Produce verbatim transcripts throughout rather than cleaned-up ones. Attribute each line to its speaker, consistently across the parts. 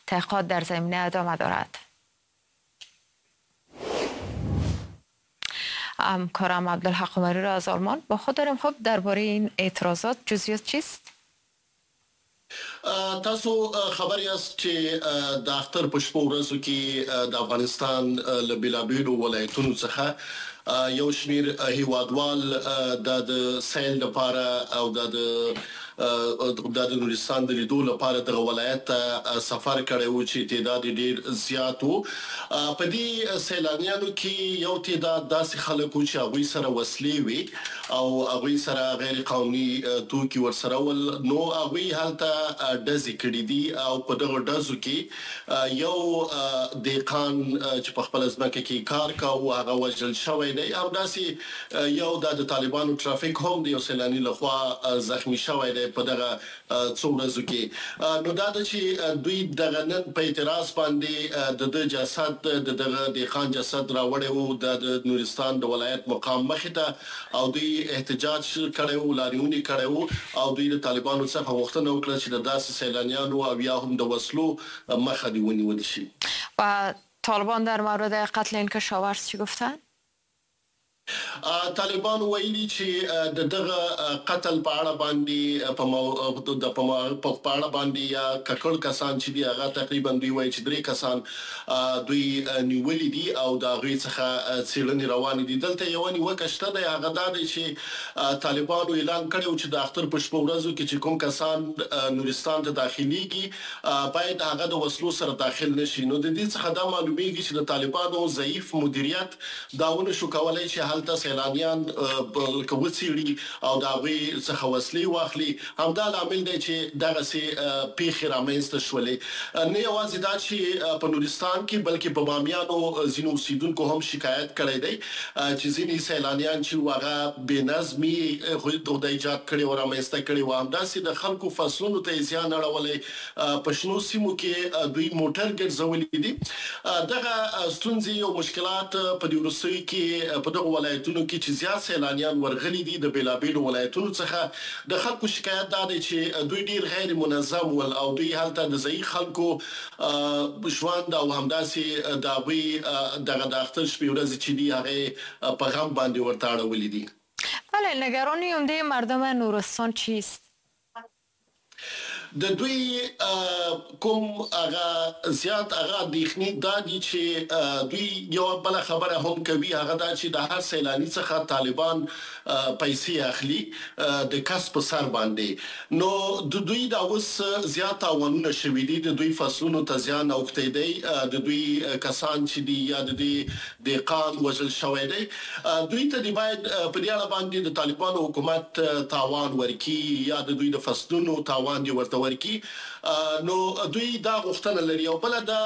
Speaker 1: تحقیقات در زمینه ادامه دارد. همکارم عبدالحق عمری را از آلمان با خود داریم. خب درباره این اعتراضات جزئیات چیست؟
Speaker 2: تاسو خبر یاست چې د اختر په شپو ورځو کې د افغانستان له بېلابېلو ولایتونو څخه یو شمېر هیوادوال د سیل لپاره او د د نورستان د لیدو لپاره دغه ولایت ته سفر کړی و چې تعداد یې ډېر زیات و. په دې سیلانیانو کې یو تعداد داسې خلک وو چې هغوی سره وسلې وې او هغوی سره غیر قانوني توکي ورسره ول، نو هغوی هلته ډزې کړې دي او په دغو ډزو کې یو دهقان چې په خپله ځمکه کې کار کاوه هغه وژل شوی دی. همداسې یو د طالبانو ترافیک هم د یو سیلاني لخوا زخمی شوی دی په دغه څو ورځو کې. نو دا ده چې دوی دغه نن په اعتراض باندې د ده جسد د دغه دهقان جسد راوړی و د نورستان د ولایت مقام مخې ته او دوی احتجاج کړی و، لاریون یې کړی و او دوی د طالبانو څخه غوښتنه وکړه چې د داسې سیلانیانو او یا هم د وسلو مخه دې ونیول شي.
Speaker 1: و طالبان در مورد قتل این کشاورز چی گفتن؟
Speaker 2: طالبان ویلي چې د دغه قتل په اړه باندې په په اړه باندې یا ککړ کسان چې دي هغه تقریبا دوی وایي چې درې کسان دوی نیولي دي او د هغوی څخه څېړنې روانې دي. دلته یوه نیوکه شته دی، هغه دا دی چې طالبانو اعلان کړی و چې د اختر په شپو ورځو کې چې کوم کسان نورستان ته داخلیږي باید هغه د وسلو سره داخل نه شي. نو د دې څخه دا معلومیږي چې د طالبانو ضعیف مدیریت دا ونه شو کولی چې هلته سیلانیان وڅېړي او د هغوی څخه وسلې واخلي. همدا لامل دی چې دغسې پېښې رامنځته شولې. نه یوازې دا چې په نورستان کې بلکې په بامیانو ځینو اوسېدونکو هم شکایت کړی دی چې ځینې سیلانیان چې هغه بې نظمي د ایجاد کړې او رامنځته کړې وه، همداسې د خلکو فصلونو ته یې زیان اړولی، په شنو سیمو کې دوی موټر ګرځولي دي. دغه ستونزې او مشکلات په دې وروستیو کې په دغو ولایتونو کې چې زیات سیلانیان ورغلي دي د بېلابېلو ولایتونو څخه د خلکو شکایت دا دی چې دوی ډېر غیر منظم ول او دوی هلته د ځایي خلکو ژوند او همداسې د هغوی دغه د اختر شپې ورځې چې دي هغه په غم باندې ورته اړولي دي.
Speaker 1: بله، نگرانی عمده مردم نورستان چیست؟
Speaker 2: د دوی کوم هغه زیات هغه اندېښنې دا دي چې دوی یوه بله خبره هم کوي، هغه دا چې د هر سیلاني څخه طالبان پیسې اخلي د کس په سر باندې. نو د دوی دا اوس زیات تاوانونه شوي دي، د دوی فصلونو ته زیان اوښتی دی، د دوی کسان چې دي یا د دوی دهقان وژل شوی دی، دوی ته دې باید په دې اړه باندې د طالبانو حکومت تاوان ورکړي یا د دوی د فصلونو تاوان دې ورته ورکړي. نو دوی دا غوښتنه لري. او بله دا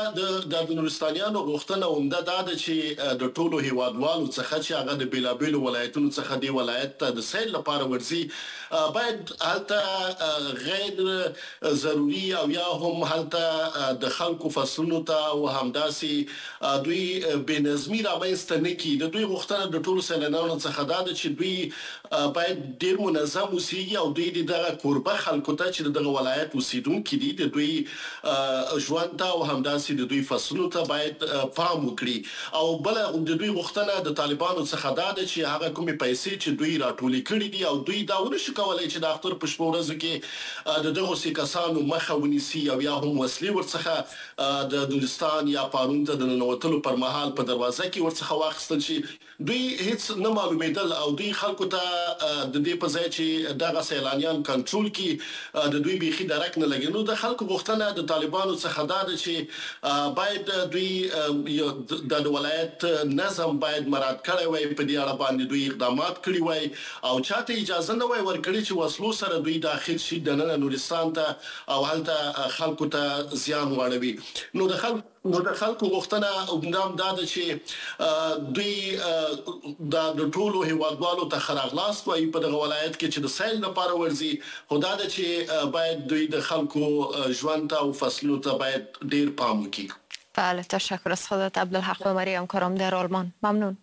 Speaker 2: د نورستانیانو غوښتنه عمده دا ده چې د ټولو هیوادوالو څخه چې هغه د بېلابېلو ولایتونو څخه دې ولایت ته د سیل لپاره ورځي باید هلته غیر ضروري او یا هم هلته د خلکو فصلونو ته او همداسې دوی بې نظمي رامنځته نه کړي. د دوی غوښتنه د ټولو سیلانیانو څخه دا ده چې دوی باید ډېر منظم اوسېږي او دوی دې دغه کوربه خلکو ته چې د دغه ولایت اوسېدونکي دي د دوی ژوند ته او همداسې د دوی فصلونو ته باید پام وکړي. او بله د دوی غوښتنه د طالبانو څخه دا ده چې هغه کومې پیسې چې دوی راټولې کړې دي او دوی دا ونه شو کولی چې د اختر په شپو ورځو کې د دغسې کسانو مخه ونیسي او یا هم وسلې ورڅخه د نورستان یا پارون ته د ننوتلو پر مهال په دروازه کې ورڅخه واخیستل شي، دوی هیڅ نه معلومېدل او دوی خلکو ته د دې په ځای چې دغه سیلانیان کنټرول کړي د دوی بیخي درک نه لګي. نو د خلکو غوښتنه د طالبانو څخه دا ده چې باید دوی د ولایت نظم باید مراعات کړی وای، په دې اړه باندې دوی اقدامات کړي وای او چاته اجازه نه وای ورکړې چې وسلو سره دوی داخل شي دننه نورستان ته او هلته خلکو ته زیان واړوي. نو د خلکو نو د خلکو غوښتنه هم دا ده چې دوی د ټولو هیوادوالو ته ښه راغلاست وایي په دغه ولایت کې چې د سیل لپاره ورځي، خو دا ده چې باید دوی د خلکو ژوند ته او فصلونو ته باید ډیر پام وکړي.
Speaker 1: بله، تشکر از خودت عبدالحق عمری، همکارم در آلمان. ممنون.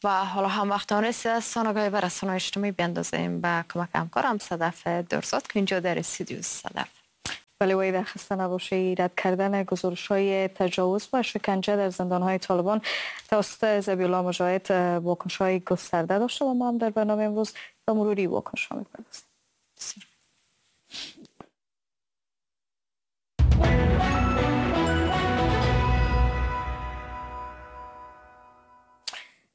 Speaker 1: و حالا هم وقت آن رسیده است تا نگاهی به رسانه‌های اجتماعی بیندازیم به کمک همکارم صدف درزاد که اینجا در استودیو. صدف، ولی وای خسته نباشی. رد کردن گزارش‌های تجاوز و شکنجه در زندان‌های طالبان توسط ذبیح الله مجاهد واکنش‌های گسترده داشته و ما هم در برنامه امروز به مروری واکنش‌ها می‌پردازیم.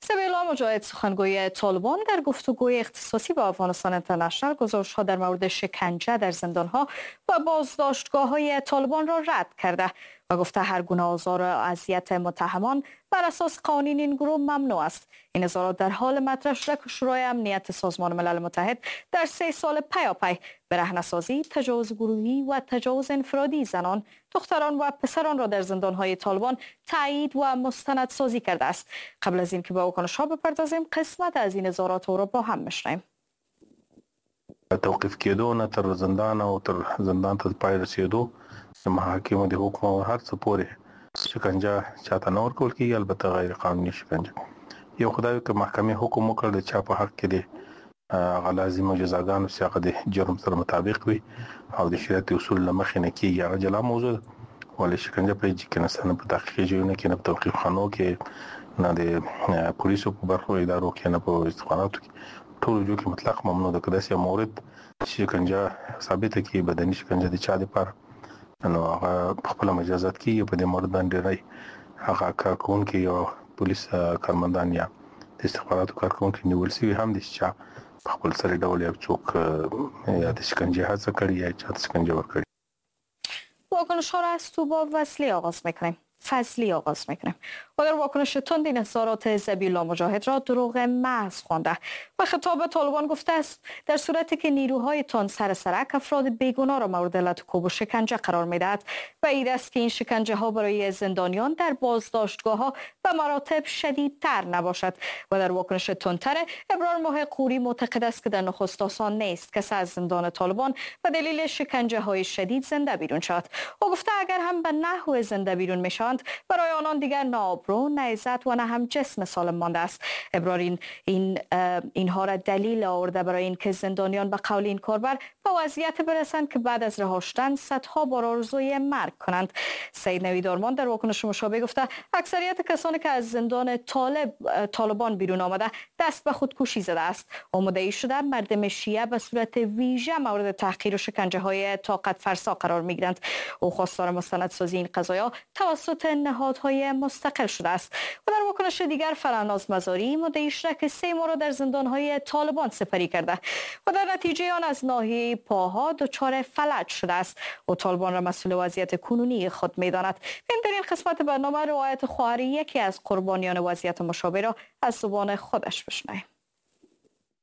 Speaker 1: ذبیح الله مجاهد سخنگوی طالبان در گفتگوی اختصاصی با افغانستان اینترنشنال گزارش‌ها در مورد شکنجه در زندان‌ها و بازداشتگاه‌های طالبان را رد کرده و گفته هر گونه آزار و اذیت متهمان بر اساس قوانین این گروه ممنوع است. این اظهارات در حال مطرح شده که شورای امنیت سازمان ملل متحد در سه سال پیاپی برهنه‌سازی، تجاوز گروهی و تجاوز انفرادی زنان، دختران و پسران را در زندان‌های طالبان تایید و مستندسازی کرده است. قبل از اینکه به واکنش‌ها بپردازیم، قسمت از این اظهارات را با هم می‌شنویم.
Speaker 3: توقیف کېدو نه تر زندان او تر زندان ته پای رسېدو د محاکمو د حکم او هر څه پورې شکنجه چاته نه ورکول کېږي، البته غیر قانوني شکنجه. یو خدای که محکمې حکم وکړ د چا په حق کې دی هغه لازمو جزاګانو چې هغه د جرم سره مطابق وي او د شریعت اصول له مخې نه کېږي، هغه جلا موضوع ده. ولې شکنجه په هېڅ کې نشته، نه په تحقیقي ځایونو کې، نه په توقیف خانو کې، نه د پولیسو په برخو ادارو کې، نه په استخباراتو کې، ټولو ځایو کې مطلق ممنوع ده. که داسې یو مورد شکنجه ثابته کړي، بدني شکنجه د چا دپاره، نو هغه په خپله مجازات کېږي. په دې مورد باندې ډېری هغه کارکوونکي یا پولیس کارمندان یا د استخباراتو کارکوونکي نیول شوي هم دي چې چا په خپل سري ډول یو څوک یا د شکنجې هڅه کړې یا چا ته شکنجه ورکړې.
Speaker 1: واکنش‌ها را از توبا وصلی آغاز میکنیم. فضلی آغاز میکنیم و در واکنش تند این اظهارات ذبیح الله مجاهد را دروغ محض خوانده و خطاب طالبان گفته است در صورتی که نیروهای تان سر سرک افراد بیگناه را مورد لط و کوب و شکنجه قرار میدهد و این است که این شکنجه ها برای زندانیان در بازداشتگاه ها به مراتب شدیدتر نباشد. و در واکنش تندتر ابرار ماه قوری معتقد است که در نخست آسان نیست کسی از زندان طالبان به دلیل شکنجه های شدید زنده بیرون شود. او گفته اگر هم به نحو زنده بیرون میشوند برای آنان دیگر نه آبرو، نه عزت و نه هم جسم سالم مانده است. ابرار این, این اینها را دلیل آورده برای اینکه زندانیان به قول این کاربر به وضعیت برسند که بعد از رها شدن صدها بار آرزوی مرگ کنند. سید نوید آرمان در واکنش مشابه گفته اکثریت کسانی که از زندان طالب طالبان بیرون آمده دست به خودکشی زده است. مدعی شده مردم شیعه به صورت ویژه مورد تحقیر و شکنجه های طاقت فرسا قرار میگیرند. او خواستار مستندسازی این قضایا توسط نهادهای مستقل شده است. و در واکنش دیگر فرناز مزاری مدعی شده که سه ماه را در زندان‌های طالبان سپری کرده و در نتیجه آن از ناحیه پاها دچار فلج شده است. او طالبان را مسئول وضعیت کنونی خود می‌داند. این در این قسمت برنامه روایت خواهر یکی از قربانیان وضعیت مشابه را از زبان خودش بشنویم.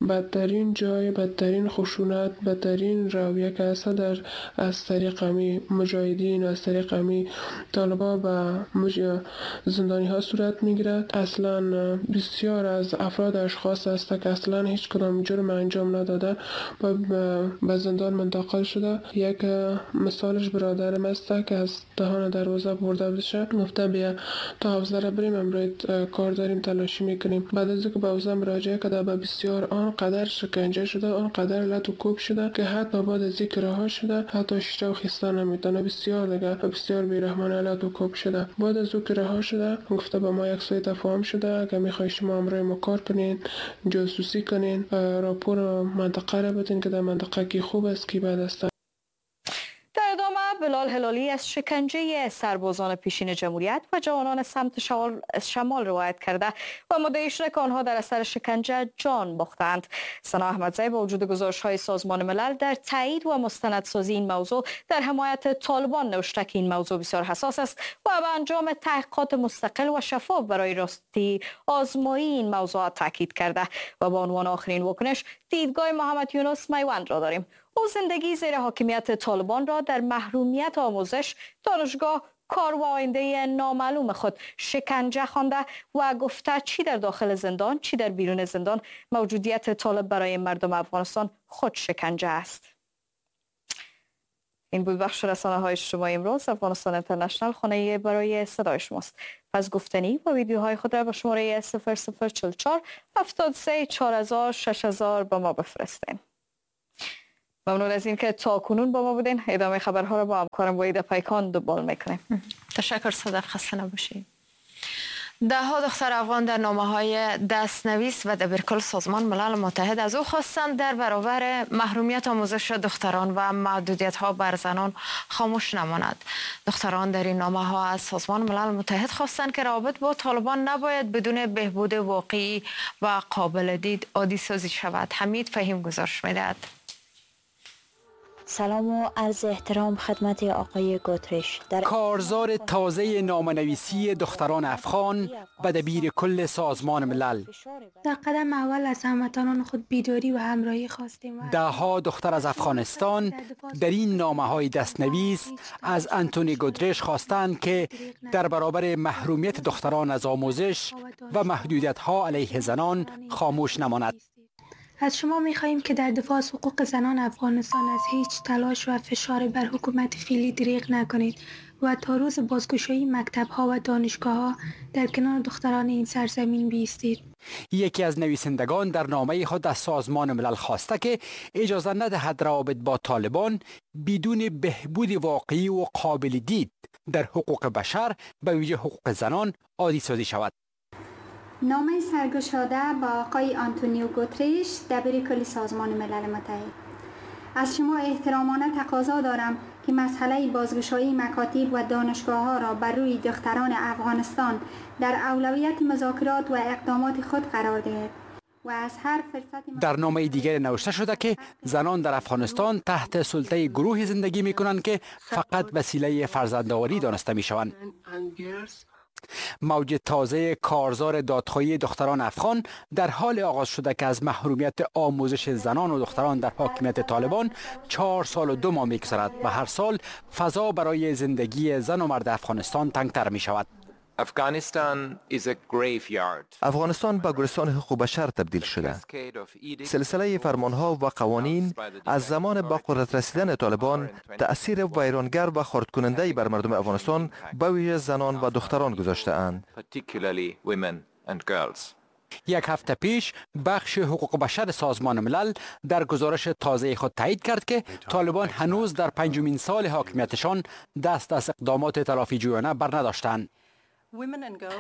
Speaker 4: بدترین جای، بدترین خشونت، بدترین رویه که هست در از طریق امی مجاهدین و از طریق امی طالبا به مج... زندانی ها صورت میگیرد. اصلا بسیار از افراد اشخاص هست که اصلا هیچ کدام جرم انجام نداده و به زندان منتقل شده. یک مثالش برادرم است که از دهان دروازه برده بشه، گفته بیا تا حوزه را بریم، امروز کار داریم، تلاشی میکنیم. بعد از اینکه به حوزه مراجعه کرده به بسیار آن قدر شکنجه شده، آن قدر لط و کوب شده که حتی بعد از اینکه رها شده حتی شیشه و خیسته نمیتونه، بسیار دیگه بسیار بی‌رحمانه لط و کوب شده. بعد از او که رها شده گفته با ما یک سوی تفاهم شده، اگه میخوای شما همراه ما کار کنین، جاسوسی کنین، راپور منطقه را بدین که در منطقه کی خوب است کی بد است.
Speaker 1: در ادامه بلال هلالی از شکنجه سربازان پیشین جمهوریت و جوانان سمت شمال روایت کرده و مدعی شده که آنها در اثر شکنجه جان باختند. سنا احمدزی با وجود گزارش‌های سازمان ملل در تایید و مستندسازی این موضوع در حمایت طالبان نوشته که این موضوع بسیار حساس است و به انجام تحقیقات مستقل و شفاف برای راستی آزمایی این موضوع تاکید کرده. و به عنوان آخرین واکنش دیدگاه محمد یونس میوند را داریم. او زندگی زیر حاکمیت طالبان را در محرومیت آموزش، دانشگاه، کار و آینده نامعلوم خود شکنجه خوانده و گفته چی در داخل زندان چی در بیرون زندان موجودیت طالب برای مردم افغانستان خود شکنجه است. این بود بخش رسانه های اجتماعی امروز. افغانستان اینترنشنال خانه برای صدای شماست. پس گفتنی و ویدیوهای خود را به شماره صفر صفر چهل و چهار هفتاد و سه چهار هزار شش هزار با ما بفرستین. ممنون از اینکه تا کنون با ما بودین. ادامه خبرها را با همکارم وحید پیکان دنبال میکنیم.
Speaker 5: تشکر صدف، خسته نباشید. ده ها دختر افغان در نامه های دستنویس و دبیرکل سازمان ملل متحد از او خواستند در برابر محرومیت آموزش دختران و محدودیت ها بر زنان خاموش نماند. دختران در این نامه ها از سازمان ملل متحد خواستند که روابط با طالبان نباید بدون بهبود واقعی و قابل دید عادی سازی شود. حمید فهیم گزارش میدهد.
Speaker 6: سلام و عرض احترام خدمت آقای گوترش. در
Speaker 7: کارزار تازه نامنویسی دختران افغان به دبیر کل سازمان ملل.
Speaker 8: در قدم اول از هموطنان خود بیداری و همراهی خواستیم.
Speaker 7: ده ها دختر از افغانستان در این نامه های دستنویس از آنتونی گوترش خواستند که در برابر محرومیت دختران از آموزش و محدودیت ها علیه زنان خاموش نماند.
Speaker 8: از شما می‌خواهیم که در دفاع از حقوق زنان افغانستان از هیچ تلاش و فشار بر حکومت فعلی دریغ نکنید و تا روز بازگشایی مکتب‌ها و دانشگاه‌ها در کنار دختران این سرزمین بیستید.
Speaker 7: یکی از نویسندگان در نامه خود از سازمان ملل خواسته که اجازه ندهد روابط با طالبان بدون بهبود واقعی و قابل دید در حقوق بشر به ویژه حقوق زنان عادی سازی شود.
Speaker 9: نامه سرگشاده با آقای آنتونیو گوترش دبیر کل سازمان ملل متحد. از شما احترامانه تقاضا دارم که مسئله بازگشایی مکاتب و دانشگاه ها را بر روی دختران افغانستان در اولویت مذاکرات و اقدامات خود قرار دهید و از هر فرصت.
Speaker 7: در نامه دیگر نوشته شده که زنان در افغانستان تحت سلطه گروهی زندگی می کنند که فقط وسیله فرزندآوری دانسته می شوند. موج تازه کارزار دادخواهی دختران افغان در حال آغاز شده که از محرومیت آموزش زنان و دختران در حاکمیت طالبان چهار سال و دو ماه می‌گذرد و هر سال فضا برای زندگی زن و مرد افغانستان تنگتر می شود.
Speaker 10: افغانستان به گورستان حقوق بشر تبدیل شده. سلسله فرمانها و قوانین از زمان به قدرت رسیدن طالبان تأثیر ویرانگر و خردکننده‌ای بر مردم افغانستان به ویژه زنان و دختران گذاشته اند.
Speaker 7: یک هفته پیش بخش حقوق بشر سازمان ملل در گزارش تازه خود تایید کرد که طالبان هنوز در پنجمین سال حاکمیتشان دست از اقدامات تلافی جویانه بر نداشتند.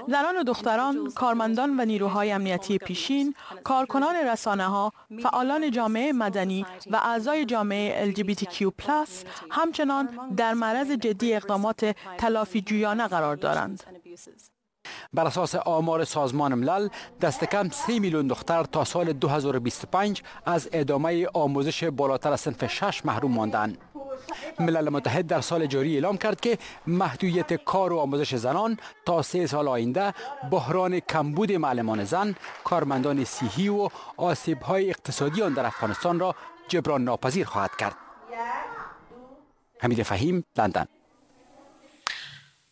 Speaker 11: زنان و دختران، کارمندان و نیروهای امنیتی پیشین، کارکنان رسانه ها، فعالان جامعه مدنی و اعضای جامعه ال جی بی تی کیو پلاس همچنان در معرض جدی اقدامات تلافی جویانه قرار دارند.
Speaker 7: بر اساس آمار سازمان ملل دست کم سه میلیون دختر تا سال دو هزار و بیست و پنج از ادامه آموزش بالاتر از صنف شش محروم ماندند. ملل متحد در سال جاری اعلام کرد که محدودیت کار و آموزش زنان تا سه سال آینده بحران کمبود معلمان زن، کارمندان صحی و آسیب‌های اقتصادی آن در افغانستان را جبران ناپذیر خواهد کرد. حمید فهیم، لندن.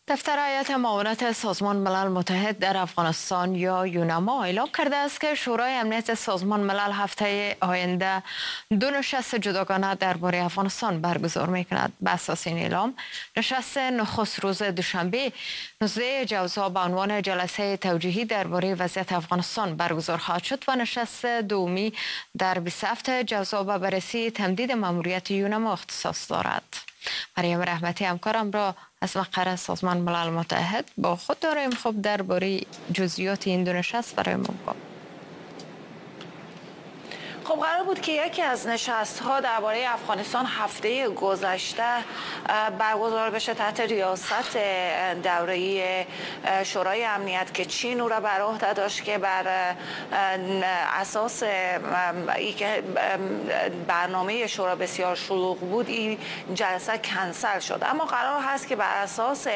Speaker 5: دفتر هیئت معاونت سازمان ملل متحد در افغانستان یا یوناما اعلام کرده است که شورای امنیت سازمان ملل هفته آینده دو نشست جداگانه درباره افغانستان برگزار می‌کند. به اساس این اعلام، نشست نخست روز دوشنبه نوزده جوزا به عنوان جلسه توجیهی درباره وضعیت افغانستان برگزار خواهد شد و نشست دومی در بیست و هفت جوزا به بررسی تمدید ماموریت یوناما اختصاص دارد. مریم رحمتی همکارم را از مقر سازمان ملل متحد با خود داریم. خب درباره جزئیات این دو نشست برای ما بگو.
Speaker 12: خب قرار بود که یکی از نشست‌ها درباره افغانستان هفته گذشته برگزار بشه تحت ریاست دوره‌ای شورای امنیت که چین او را بر عهده داشت که بر اساس اینکه برنامه شورا بسیار شلوغ بود این جلسه کنسل شد. اما قرار هست که بر اساس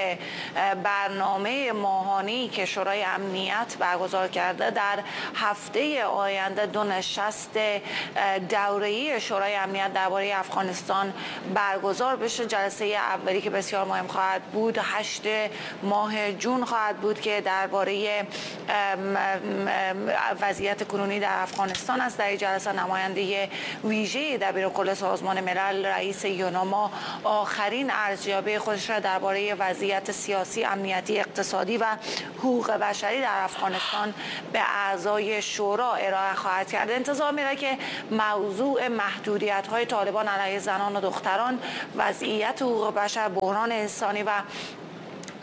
Speaker 12: برنامه ماهانه‌ای که شورای امنیت برگزار کرده در هفته آینده دو نشست دوره‌ای شورای امنیت درباره افغانستان برگزار بشه. جلسه اولی که بسیار مهم خواهد بود هشت ماه جون خواهد بود که درباره وضعیت کنونی در افغانستان است. در جلسه نماینده ویژه دبیرکل سازمان ملل رئیس یوناما آخرین ارزیابی خودش را درباره وضعیت سیاسی، امنیتی، اقتصادی و حقوق بشری در افغانستان به اعضای شورا ارائه خواهد کرد. انتظار میره که موضوع محدودیت‌های طالبان علیه زنان و دختران، وضعیت حقوق بشر، بحران انسانی و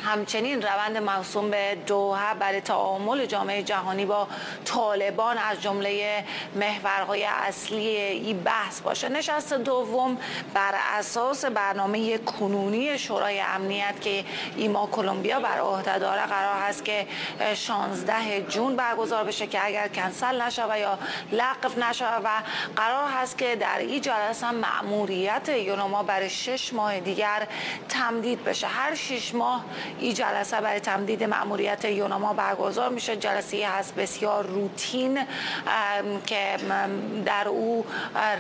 Speaker 12: همچنین روند موسوم به دوحه برای تعامل جامعه جهانی با طالبان از جمله محورهای اصلی این بحث باشه. نشست دوم بر اساس برنامه کنونی شورای امنیت که ایما کلمبیا بر عهده داره قرار هست که شانزده جون برگزار بشه که اگر کنسل نشه و یا لغو نشه، و قرار هست که در این جلسه مأموریت یوناما برای شش ماه دیگر تمدید بشه. هر شش ماه این جلسه برای تمدید مأموریت یوناما برگزار میشه. جلسه هست بسیار روتین که در او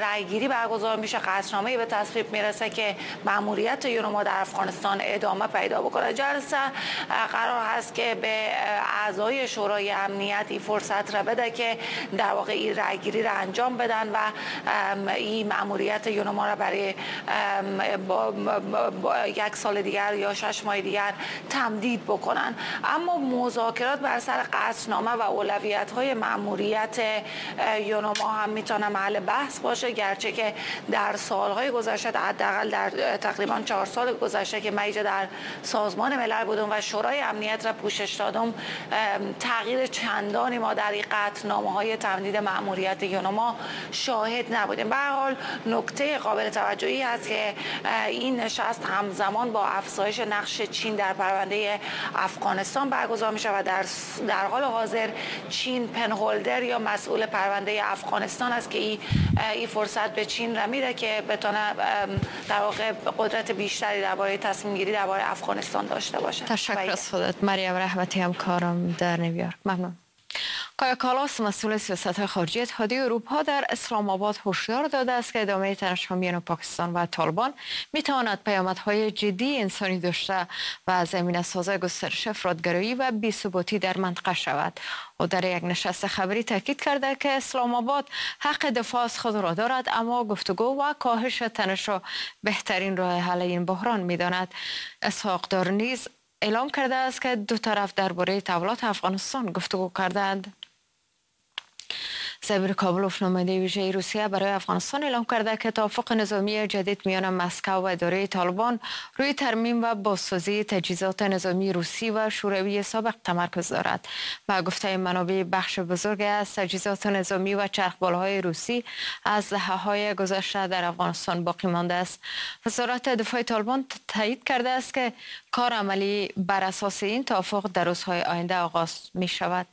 Speaker 12: رأیگیری برگزار میشه، قطعنامه‌ای به تصویب میرسه که مأموریت یوناما در افغانستان ادامه پیدا بکنه. جلسه قرار هست که به اعضای شورای امنیت این فرصت را بده که در واقع این رأیگیری را انجام بدن و این مأموریت یوناما را برای با با یک سال دیگر یا شش ماه دیگر تمدید بکنن. اما مذاکرات بر سر قطعنامه و اولویت‌های مأموریت یوناما هم میتونه محل بحث باشه، گرچه که در سالهای گذشته، حداقل در تقریبا چهار سال گذشته که من اینجا در سازمان ملل بودم و شورای امنیت را پوشش دادم، تغییر چندانی ما در این قطعنامه‌های تمدید مأموریت یوناما شاهد نبودیم. به هر حال نکته قابل توجهی هست که این نشست همزمان با افزایش نقش چین در پرونده افغانستان برگزار میشه و در در حال حاضر چین پنهولدر یا مسئول پرونده افغانستان است که این ای فرصت به چین را میده که بتونه در واقع قدرت بیشتری درباره تصمیم گیری درباره افغانستان داشته باشه.
Speaker 5: تشکر از خودت مریم رحمتی، همکارم در نیویورک. ممنون. کایا کالاس، مسئول سیاست‌های خارجی اتحادیه اروپا در اسلام آباد هشدار داده است که ادامه تنش‌ها میان پاکستان و طالبان می‌تواند پیامدهای جدی انسانی داشته و زمینه ساز گسترش افراط‌گرایی و بی‌ثباتی در منطقه شود. او در یک نشست خبری تاکید کرده که اسلام آباد حق دفاع از خود را دارد، اما گفتگو و کاهش تنش را بهترین راه حل این بحران می‌داند. اسحاق دار نیز اعلام کرده است که دو طرف درباره تحولات افغانستان گفتگو کردند. ضمیر کابلوف، نماینده ویژه روسیه برای افغانستان، اعلام کرده که توافق نظامی جدید میان مسکو و اداره طالبان روی ترمیم و بازسازی تجهیزات نظامی روسی و شوروی سابق تمرکز دارد. و گفته منابع بخش بزرگ از تجهیزات نظامی و چرخبالهای روسی از دهه‌های گذشته در افغانستان باقی مانده است. وزارت دفاع طالبان تایید کرده است که کار عملی بر اساس این توافق در روزهای آینده آغاز می شود.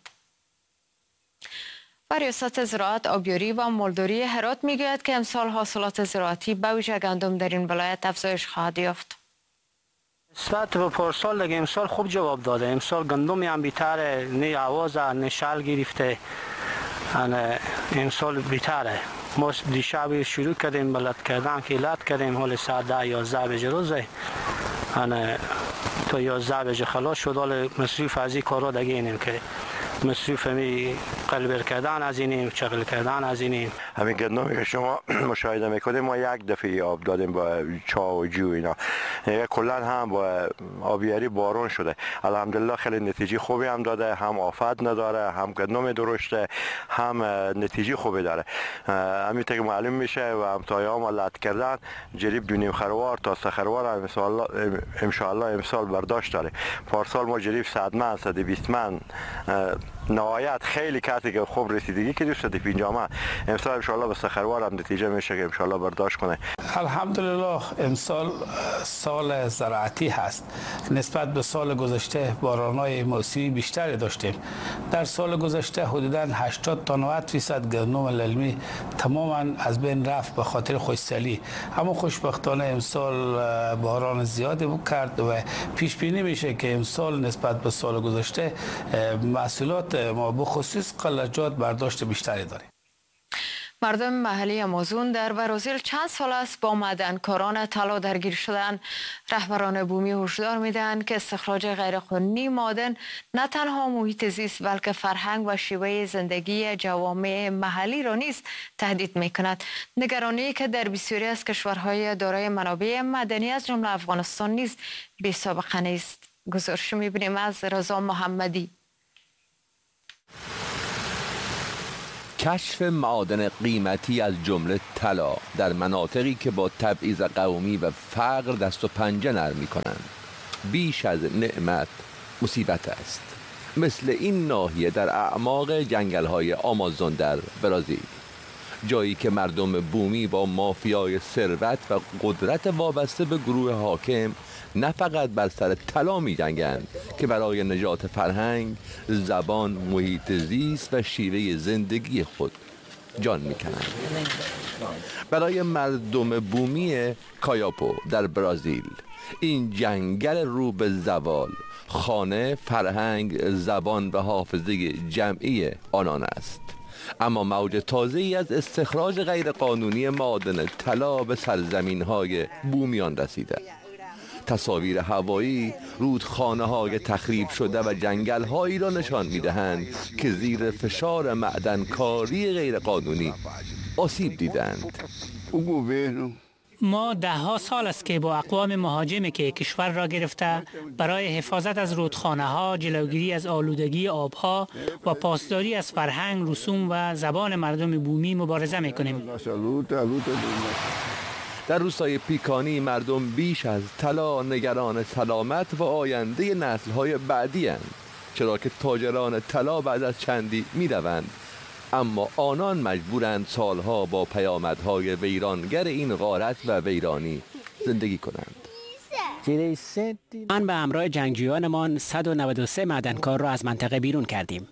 Speaker 5: و ریاست زراعت، آبیاری و مالداری هرات میگوید که امسال حاصلات زراعتی به ویژه گندم در این ولایت افزایش خواهد یافت.
Speaker 13: نسبت به پارسال دیگه امسال خوب جواب داده. امسال گندم هم بیتره، نه آواز نه شال گرفته، امسال بیتره. ما دیشب شروع کردیم بلد کردن که لد کردیم، حال ساعت ده یازده بجه روزه تا یازده بجه خلاص شد. حال مصروف از این کارا دیگه اینیم که مصروف می قلبر کردن از اینیم، چغل کردن از اینیم.
Speaker 14: همین گندمی که شما مشاهده میکنید ما یک دفعه آب دادیم با چاه و جو اینا، کلا هم با آبیاری بارون شده. الحمدلله خیلی نتیجه خوبی هم داده، هم آفت نداره، هم گندم درشته، هم نتیجه خوبی داره. همین که معلوم میشه و همتایا ما لد کردن جریب دو نیم خروار تا سه خروار ان شاء الله امسال برداشت داره. پارسال ما جریب صد من صد و بیست من نهایت خیلی کسی که خوب رسیدگی که دوست پنجاه من، امسال ان شاء الله به سخروار هم نتیجه میشه که ان شاء الله برداشت کنه.
Speaker 15: الحمدلله امسال سال زراعتی هست. نسبت به سال گذشته باران‌های موسمی بیشتری داشتیم. در سال گذشته حدوداً هشتاد تا نود درصد گندم للمی تماما از بین رفت به خاطر خشکسالی، اما خوشبختانه امسال باران زیادی کرد و پیش بینی میشه که امسال نسبت به سال گذشته محصولات ما به خصوص قلجات برداشت بیشتری داریم.
Speaker 5: مردم محلی آمازون در برزیل چند سال است با معدنکاران طلا درگیر شدند. رهبران بومی هشدار میدهند که استخراج غیرقانونی معادن نه تنها محیط زیست بلکه فرهنگ و شیوه زندگی جوامع محلی را نیز تهدید میکند. نگرانی که در بسیاری از کشورهای دارای منابع معدنی از جمله افغانستان نیز بی سابقه نیست. گزارش میبینیم از رضا محمدی.
Speaker 16: کشف معادن قیمتی از جمله طلا در مناطقی که با تبعیض قومی و فقر دست و پنجه نرم می‌کنند بیش از نعمت مصیبت است. مثل این ناحیه در اعماق جنگل‌های آمازون در برزیل، جایی که مردم بومی با مافیای ثروت و قدرت وابسته به گروه حاکم نه فقط بر سر طلا می‌جنگند که برای نجات فرهنگ، زبان، محیط زیست و شیوه زندگی خود جان می‌کنند. برای مردم بومی کایاپو در برزیل، این جنگل رو به زوال خانه، فرهنگ، زبان و حافظه جمعی آنان است. اما موج تازه‌ای از استخراج غیرقانونی معادن طلا به سرزمین‌های بومیان رسیده. تصاویر هوایی رودخانه‌های تخریب شده و جنگل‌هایی را نشان می‌دهند که زیر فشار معدنکاری غیرقانونی آسیب دیدند.
Speaker 17: ما ده ها سال است که با اقوام مهاجمی که کشور را گرفته برای حفاظت از رودخانه ها، جلوگیری از آلودگی آبها و پاسداری از فرهنگ، رسوم و زبان مردم بومی مبارزه میکنیم.
Speaker 16: در روستای پیکانی مردم بیش از طلا نگران سلامت و آینده نسل‌های بعدی اند، چرا که تاجران طلا بعد از چندی می‌روند، اما آنان مجبورند سالها با پیامدهای ویرانگر این غارت و ویرانی زندگی کنند.
Speaker 18: من به همراه جنگجویانمان صد و نود و سه معدنکار را از منطقه بیرون کردیم.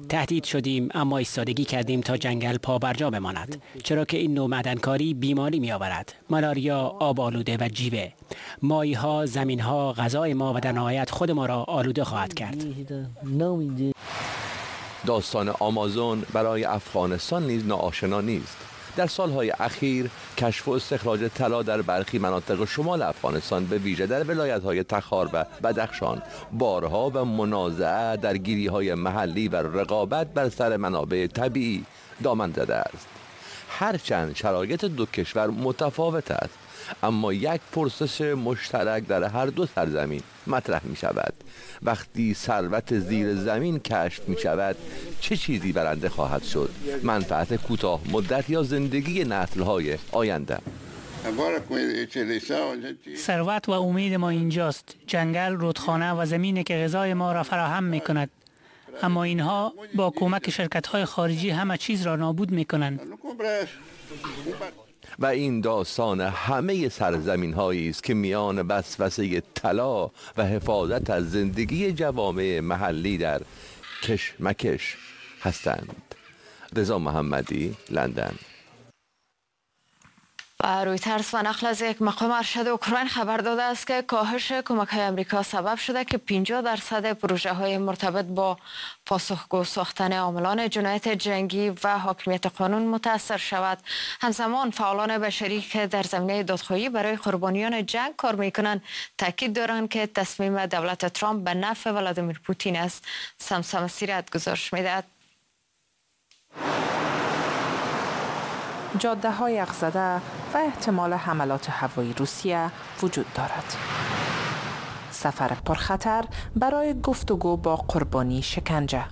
Speaker 18: تهدید شدیم اما ایستادگی کردیم تا جنگل پا برجا بماند، چرا که این نوع معدنکاری بیماری می آورد: مالاریا، آب آلوده و جیوه. ماهی ها، زمین ها، غذای ما و در نهایت خود ما را آلوده خواهد کرد.
Speaker 16: داستان آمازون برای افغانستان نیز ناآشنا نیست. در سالهای اخیر کشف و استخراج طلا در برخی مناطق شمال افغانستان به ویژه در ولایت‌های تخار و بدخشان بارها و منازعه، درگیری‌های محلی و رقابت بر سر منابع طبیعی دامن زده است. هرچند شرایط دو کشور متفاوت است، اما یک پرسش مشترک در هر دو سرزمین مطرح می شود: وقتی ثروت زیر زمین کشف می شود چه چیزی برنده خواهد شد؟ منفعت کوتاه مدت یا زندگی نسل‌های آینده؟
Speaker 17: ثروت و امید ما اینجاست، جنگل، رودخانه و زمینی که غذای ما را فراهم می کند. اما اینها با کمک شرکت‌های خارجی همه چیز را نابود می کنند.
Speaker 16: و این داستان همه سرزمین هایی است که میان وسوسه طلا و حفاظت از زندگی جوامع محلی در کشمکش هستند. رضا محمدی، لندن.
Speaker 5: و رویترز و نقل از یک مقام ارشد اوکراین خبر داده است که کاهش کمک‌های امریکا سبب شده که پنجاه درصد پروژه های مرتبط با پاسخگو ساختن عاملان جنایت جنگی و حاکمیت قانون متاثر شود. همزمان فعالان بشری که در زمینه دادخواهی برای قربانیان جنگ کار میکنند تاکید دارند که تصمیم دولت ترامپ به نفع ولادیمیر پوتین است. سمسم سیرت گزارش میدهد.
Speaker 19: جاده های یخزده و احتمال حملات هوایی روسیه وجود دارد. سفر پرخطر برای گفتگو با قربانی شکنجه.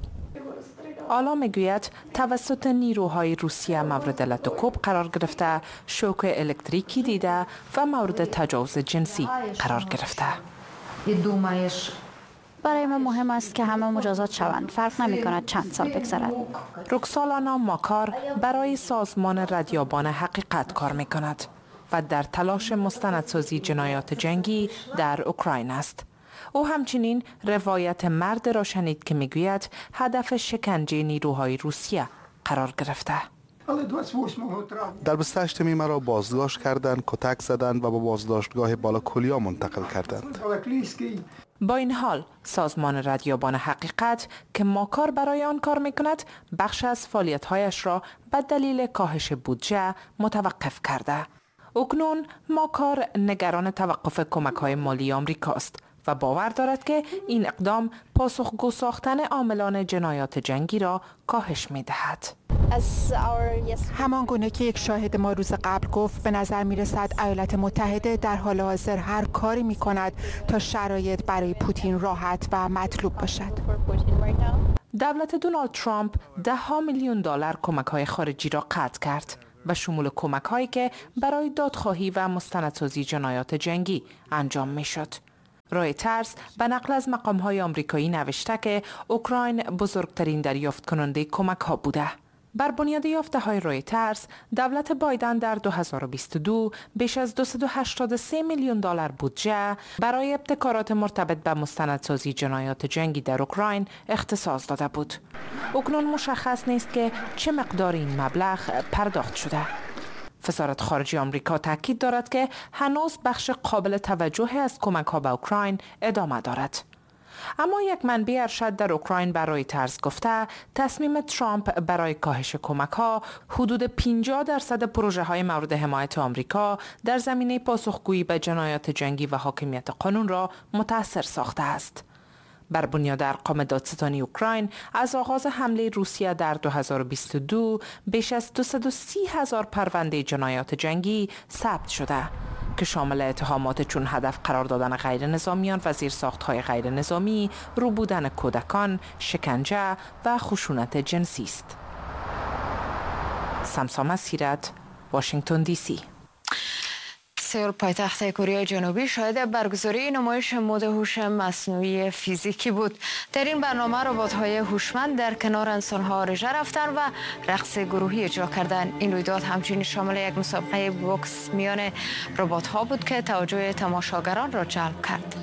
Speaker 19: آلا میگوید توسط نیروهای روسیه مورد لت و کوب قرار گرفته، شوک الکتریکی دیده و مورد تجاوز جنسی قرار گرفته.
Speaker 6: برای ما مهم است که همه مجازات شوند، فرق نمی کند چند سال بگذرد.
Speaker 19: رکسالانا ماکار برای سازمان ردیابان حقیقت کار می کند و در تلاش مستندسازی جنایات جنگی در اوکراین است. او همچنین روایت مرد را شنید که میگوید هدف شکنجه نیروهای روسیه قرار گرفته.
Speaker 20: در بیست و هشت می مرا بازداشت کردند، کتک زدند و به بازداشتگاه بالاکولیا منتقل کردند.
Speaker 19: با این حال سازمان ردیابان حقیقت که ماکار برای آن کار میکند بخش از فعالیت‌هایش را به دلیل کاهش بودجه متوقف کرده. اکنون ماکار نگران توقف کمک‌های مالی آمریکاست و باور دارد که این اقدام پاسخگو ساختن عاملان جنایات جنگی را کاهش می‌دهد.
Speaker 21: همان گونه که یک شاهد ما روز قبل گفت، به نظر می رسد ایالات متحده در حال حاضر هر کاری می کند تا شرایط برای پوتین راحت و مطلوب باشد.
Speaker 19: دولت دونالد ترامپ ده ها میلیون دلار کمک های خارجی را قطع کرد و شمول کمک هایی که برای دادخواهی و مستندسازی جنایات جنگی انجام می شد. رویترز به نقل از مقام های آمریکایی نوشته که اوکراین بزرگترین دریافت کننده کمک ها بوده. بر بنیاد یافته های رویترز، دولت بایدن در دو هزار و بیست و دو بیش از دویست و هشتاد و سه میلیون دلار بودجه برای ابتکارات مرتبط به مستندسازی جنایات جنگی در اوکراین اختصاص داده بود. اکنون مشخص نیست که چه مقدار این مبلغ پرداخت شده. وزارت خارجه آمریکا تاکید دارد که هنوز بخش قابل توجهی از کمک ها به اوکراین ادامه دارد. اما یک منبع ارشد در اوکراین برای رویترز گفته تصمیم ترامپ برای کاهش کمک ها حدود پنجاه درصد پروژه های مورد حمایت آمریکا در زمینه پاسخگویی به جنایات جنگی و حاکمیت قانون را متاثر ساخته است. بر بنیاد ارقام دادستانی اوکراین از آغاز حمله روسیه در دو هزار و بیست و دو بیش از دویست و سی هزار پرونده جنایات جنگی ثبت شده که شامل اتهامات چون هدف قرار دادن غیر نظامیان و زیرساخت‌های غیر نظامی، ربودن کودکان، شکنجه و خشونت جنسی است. سمسام سیرت، واشنگتن دی سی.
Speaker 5: سئول پایتخت کره جنوبی شاهد برگزاری نمایش مد هوش مصنوعی فیزیکی بود. در این برنامه ربات‌های هوشمند در کنار انسان‌ها رژه رفتند و رقص گروهی اجرا کردند. این رویداد همچنین شامل یک مسابقه بوکس میان ربات‌ها بود که توجه تماشاگران را جلب کرد.